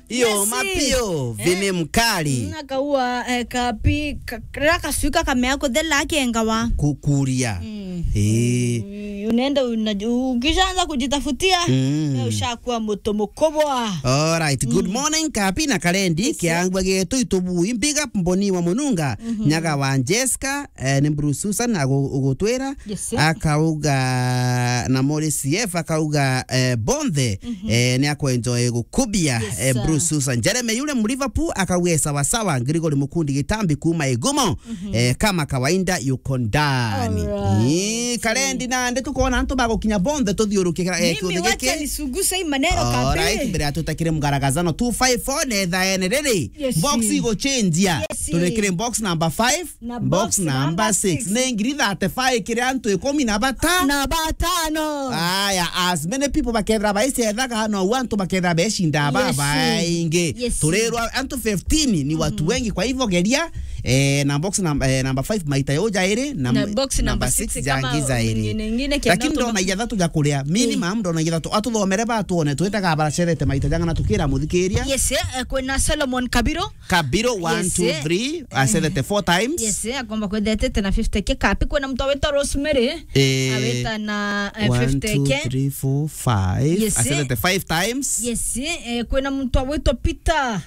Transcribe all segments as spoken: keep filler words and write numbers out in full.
Iyo, yes, mapio, eh, Vini Mkali. Mm, akaua, eh, kapi, ka-, rira kacui kakamea kuthela akengawa. Kukuria. Mm. Eh. Mm, unaenda una-, ukishaanza kujitafutia, mm, eh, ushakuwa mtu mkubwa. All right. Good, mm, morning, Kapi na Kalendi, yes, sir. Kiangwa getu itubui, big up Mboni wa Mununga, mhm, Nyaga wa Jessica, eh, ni Bruce Susan agu-, ugutwira. Yes, sir. Akauga na Morris C F akauga, eh, Bonthe, mhm, eh, ni akwenjoy gukubia, yes, eh, sir. Bruce Susan. Jeremy yule mu Liverpool akauga sawa sawa, Gregory Mukundi Gitambi kuma Igumo, mhm, eh, kama kawaida yuko ndani. All right. Ii, Kalendi nandi tukona antu bagukinya Bonthe tuthiuruke kira, eh, mimi kiuthi wacha giki. Nisuguse hii maneno. All right, kabisa. Mbere ya tutakire mgaragazano two five four netha ene riri. Yes, box sir. Iguchenjia. Yes, sir. Turekire box number five. Na box number six. Ni ngiri thirty-five kiri antu ikumi na bata-, na batano. Aya, as many people bakethira baicethaga, no antu bakethira becinda, yes, babaingi. Yes. Turirwa antu fifteen ni watu, mhm, wengi, kwa hivyo geria, eh, na box num-, eh, number five maita yo jairi, na, na box number six jangi kama jairi. Nyingine, nyingine. Lakini ndona ithatu ja kuria. Minimum, eh, ndona ithatu. Atuthomere batuone, twitaga baracethete maita jang'ana tukira muthikiria. Yes, eh, kwina Solomon Kabiro. Kabiro, one, yes, two, three, eh, acethete four times. Yes, eh, akomba kwethetete na fifty K. Kapi kwina mtu awita Rosemary, eh, awita na, eh, one, fifty K. Two, three, four, five. Yes, eh. Acethete five times. Yes, eh, kwina mtu awita Peter.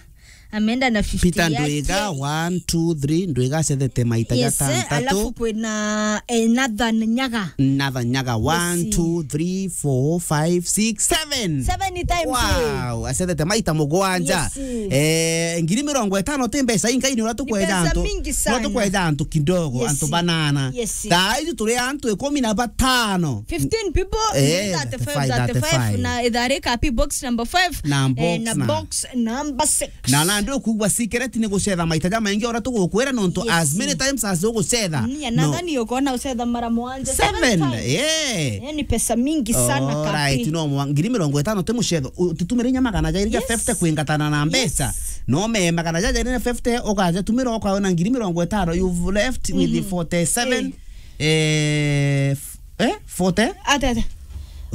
Ameenda na fifty Peter yake. Ndwiga, one, two, three, Ndwiga acethete maita, yes, eh, jatantatu. Alafu kwina, eh, Nathan Nyaga. Nathan Nyaga, one, yes, two, three, four, five, six, seven. Seven times. Wow, acethete maita mugwanja. Yes. Eh, ngiri mirongo itano ti mbeca ingai, ni uria tukweja antu. Ni pesa mingi sana. No tukweja antu kidogo, yes, antu banana. Yes. Thaa ici turi antu ikumi na batano. Fifteen people, eh, thirty-five, thirty-five, thirty-five. Na ithari Kapi box number five, na, eh, box na, na box number six. Na, na ndio kugwa secret ni gucetha maita jamaingi uria tugukwira, nontu, yes, as many times as ugucetha. Mm, ya no. Nathani ukona ucetha mara mwanja, seven, seven times. Yeah. Eh, ni pesa mingi sana, Kapi. Alright, no mwa-, ngiri mirongo itano ti mucetho. Utitumire inya magana jairi ja, yes, fifty kwingatana na mbeca. Yes. No me magana jairi na fifty ukaja tumira ukaona ngiri mirongo itano, you've left with, mhm, forty-seven. Eh. Eh, f-, eh, forty? Ate, ate.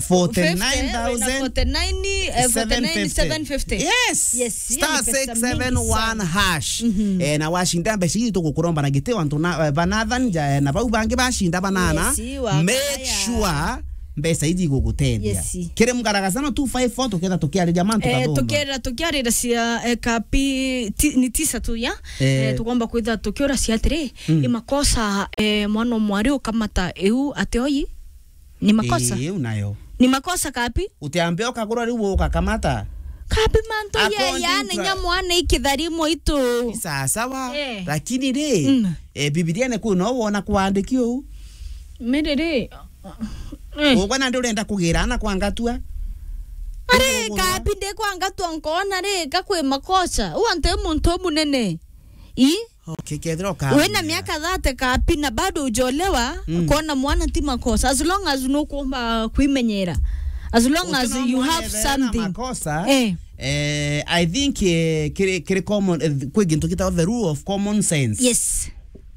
Forty-nine thousand. Fifty, na forty-nine, eh, forty-nine, seven fifty. Yes. Yes, hiyo ni pesa mingi sana. Star six seven one hash. Mhm. Eh, na washinda mbeca iji tugukuromba na gitio antu na, eh, ba Nathan, ja, eh, na bau bangi bashinda banana. Yes, wa make kaya. Sure mbeca iji igugutethia. Yes. Kiri mgaragazano two five four tuketha tukiariria mantu, eh, kathumba. Tukera tukiarira cia, eh, Kapi ti-, ni tisa tu ya. Eh. Eh, tukomba kwitha tukiura cia atiri, mm, ni makosa, eh, mwana mwari ukamata iu ati oi? Ni makosa? Ii, iu nayo. Ni makosa, Kapi? Utiambe ukagura riu ugakamata. Kapi mantu ya, according yani to nya mwana ikithari mwitu. Ni sawa sawa, eh, lakini ri, mm, eh, Bibiliane kwi no wona kwandiki uu? Miri ri, eh. Ugwe nandi urenda kugira ana kwa ngatua? Ari, ugwe Kapi ndi kwa ngatua nkona ri, ka kwi makosa. U antu e muntu umunene. I? Okay, kethira ukamenya. Wina miaka thirty, Kapi, na bado ujolewa, mm, kona mwana ti makosa. As long as nukumba kwimenyera. As long as you have something. Makosa, eh. Eh, I think, eh, kiri, kiri common, eh, kwi gintu gitagwa the rule of common sense. Yes.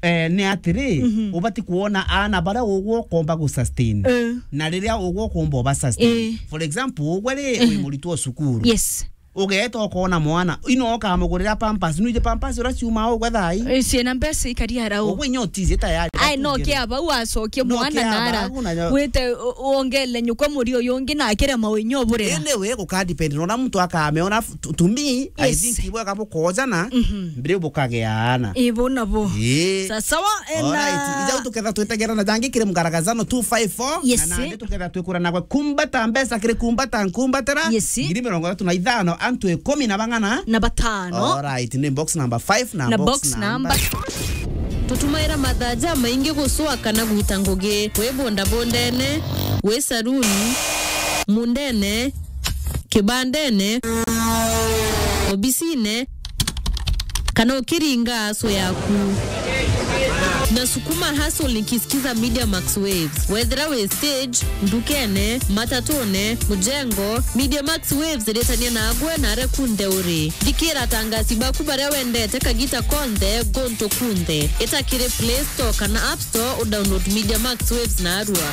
Eh, ni atiri, mhm, ubati kuona ana baria ugwo ukomba gu sustain. Eh. Na riria ugwo ukomba uba sustain. Eh. For example, ugwe ri, wi, mhm, muritwo cukuru. Yes. Ugeeta ukona mwana, ino ukamugurira pampers, nwije pampers uria ciumaa ugwe thaa ii? Eh, ciina mbeca ikaria rau. Ugwe inya utiiji tayari. Ai, no kia bau acokie mwana nara. Wite u-, wongele nyukwa muri uyu ungi na akire mawinyo burira. Indi we guka depend, nona muntu akameona f-, to, to me, I, yes, think ibwega bukojana, mhm, mbiri bukageana. Ibo nabo. Ii. Sa-, sawa, eh, alright. Na ija tuketha twitegera na jangi kiri mgaragazano two five four, yes, na nandi tuketha twikura nagwe kumbata mbeca kiri kumbata nkumbatira. Yes. Ngiri mirongo ithatu na ithano, antu ikumi na bang'ana? Na batano. Alright, ni box number five na, na box, box number, number. Tutumaira mathaa jamaingi gucua kana gwita ngugi, wi bondabondene, wi saruni, mundene, kibandene, obisine, kana ukiringa aso yaku. Nasukuma hustle nikisikiza Media Max Waves. Wethira wi stage, ndukene, matatune, mujengo, Media Max Waves iritania nagwe na aria kunthe uri. Thikira atangasi baku baria wendete kagita konthe, guntu kunthe. Ita kiri Play Store kana App Store, udownload Media Max Waves narua.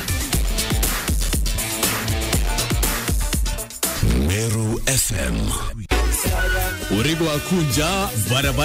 Meru F M. Uri gwakunja barabara.